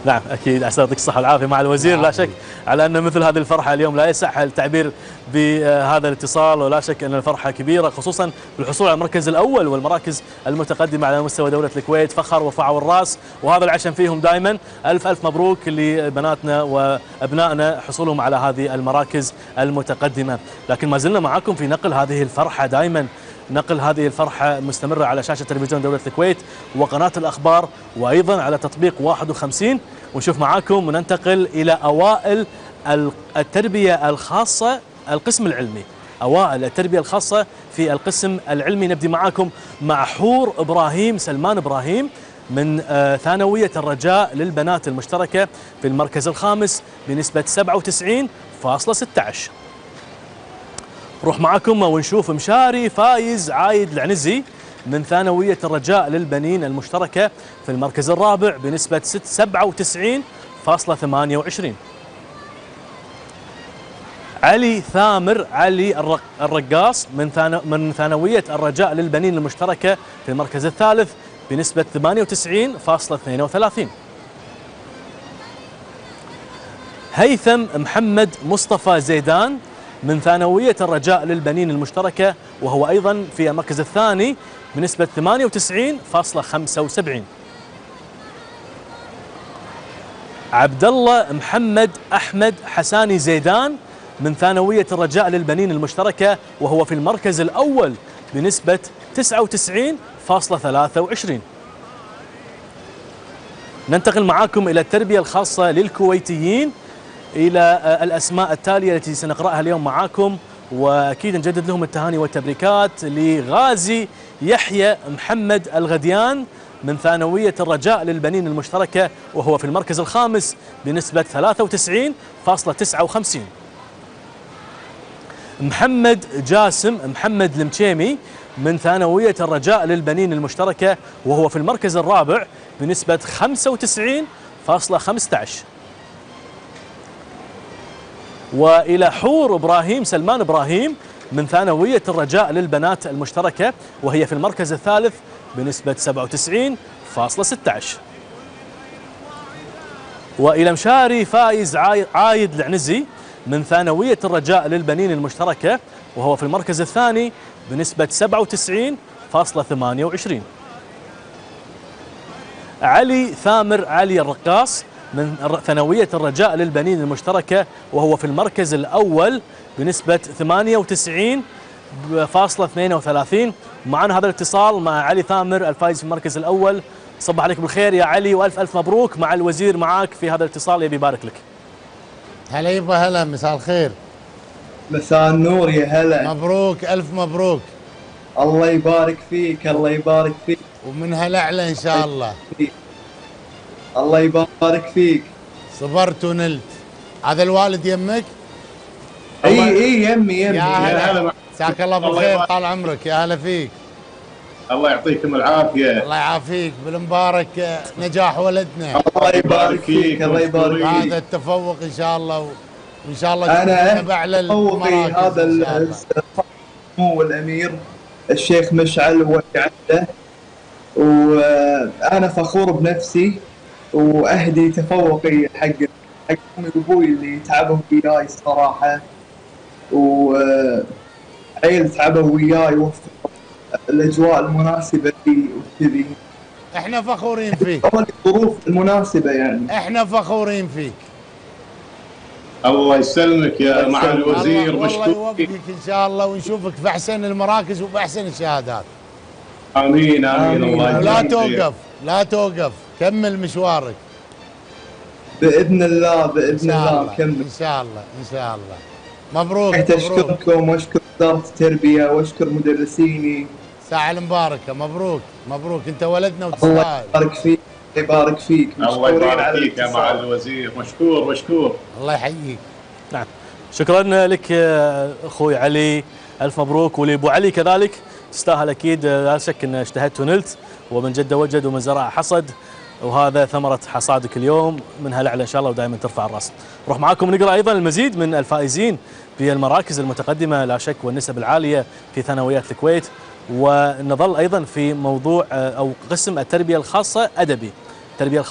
نعم اكيد، عسى يعطيك الصحه والعافيه مع الوزير. لا شك على ان مثل هذه الفرحه اليوم لا يصح التعبير بهذا الاتصال، ولا شك ان الفرحه كبيره خصوصا بالحصول على المركز الاول والمراكز المتقدمه على مستوى دوله الكويت. فخر وفعوا الراس، وهذا العشم فيهم دائما. الف الف مبروك لبناتنا وابنائنا حصولهم على هذه المراكز المتقدمه. لكن ما زلنا معكم في نقل هذه الفرحه دائما، نقل هذه الفرحة مستمرة على شاشة تلفزيون دولة الكويت وقناة الأخبار، وأيضا على تطبيق 51. ونشوف معاكم وننتقل إلى أوائل التربية الخاصة القسم العلمي. أوائل التربية الخاصة في القسم العلمي. نبدي معاكم مع حور إبراهيم سلمان إبراهيم من ثانوية الرجاء للبنات المشتركة في المركز الخامس بنسبة 97.16. نروح معكم ونشوف مشاري فايز عايد العنزي من ثانوية الرجاء للبنين المشتركة في المركز الرابع بنسبة 97.28. علي ثامر علي الرقاص من ثانوية الرجاء للبنين المشتركة في المركز الثالث بنسبة 98.32. هيثم محمد مصطفى زيدان من ثانوية الرجاء للبنين المشتركة وهو أيضا في المركز الثاني بنسبة 98.75. عبد الله محمد أحمد حساني زيدان من ثانوية الرجاء للبنين المشتركة وهو في المركز الأول بنسبة 99.23. ننتقل معاكم إلى التربية الخاصة للكويتيين، إلى الأسماء التالية التي سنقرأها اليوم معاكم، وأكيد نجدد لهم التهاني والتبريكات. لغازي يحيى محمد الغديان من ثانوية الرجاء للبنين المشتركة وهو في المركز الخامس بنسبة 93.59. محمد جاسم محمد المشيمي من ثانوية الرجاء للبنين المشتركة وهو في المركز الرابع بنسبة 95.15. وإلى حور إبراهيم سلمان إبراهيم من ثانوية الرجاء للبنات المشتركة وهي في المركز الثالث بنسبة 97.16. وإلى مشاري فايز عايد العنزي من ثانوية الرجاء للبنين المشتركة وهو في المركز الثاني بنسبة 97.28. علي ثامر علي الرقاص من ثانوية الرجاء للبنين المشتركة وهو في المركز الأول بنسبة 98.32. معنا هذا الاتصال مع علي ثامر الفائز في المركز الأول. صباح عليك بالخير يا علي وألف ألف مبروك. مع الوزير معاك في هذا الاتصال، يبي يبارك لك. هلا يبا، هلا، مساء الخير. مساء النور، يا هلا. مبروك، ألف مبروك. الله يبارك فيك، الله يبارك فيك. ومن هالأعلى إن شاء الله. الله يبارك فيك. صبرت ونلت. هذا الوالد يمك؟ اي يمي. يا هلا، مساك الله بالخير، طال عمرك، يا هلا فيك. الله يعطيكم العافية. الله يعافيك، بالمبارك نجاح ولدنا. الله يبارك فيك، الله يبارك فيك. هذا التفوق إن شاء الله، وإن شاء الله أنا بأعلى المراكز. هذا سمو الأمير الشيخ مشعل وعده، وأنا فخور بنفسي وأهدي تفوقي حق أمي وأبوي اللي تعبوا وياي الصراحة، وعيل تعبوا وياي وفقوا الأجواء المناسبة لي وكذي. احنا فخورين فيك. الظروف المناسبة يعني. احنا فخورين فيك. الله يسلمك يا معالي الوزير، والله يوفقك ان شاء الله ونشوفك في احسن المراكز وباحسن الشهادات. امين امين. الله لا توقف، لا توقف، كمل مشوارك باذن الله، باذن الله كمل ان شاء الله ان شاء الله. مبروك. اشكركم واشكر وزارة التربية واشكر مدرسيني. ساعة المباركة. مبروك مبروك، انت ولدنا وتستاهل. الله يبارك فيك، يبارك فيك. الله يبارك فيك يا معالي الوزير، مشكور مشكور. الله يحييك. نعم، شكرا لك اخوي علي، الف مبروك. ولابو علي كذلك، تستاهل اكيد، لا شك ان اجتهدت ونلت، ومن جد وجد ومن زرع حصد، وهذا ثمرة حصادك اليوم، منها الأعلى إن شاء الله ودائما ترفع الرأس. نروح معاكم نقرأ أيضا المزيد من الفائزين في المراكز المتقدمة لا شك والنسب العالية في ثانويات الكويت، ونظل أيضا في موضوع أو قسم التربية الخاصة أدبي. التربية الخاصة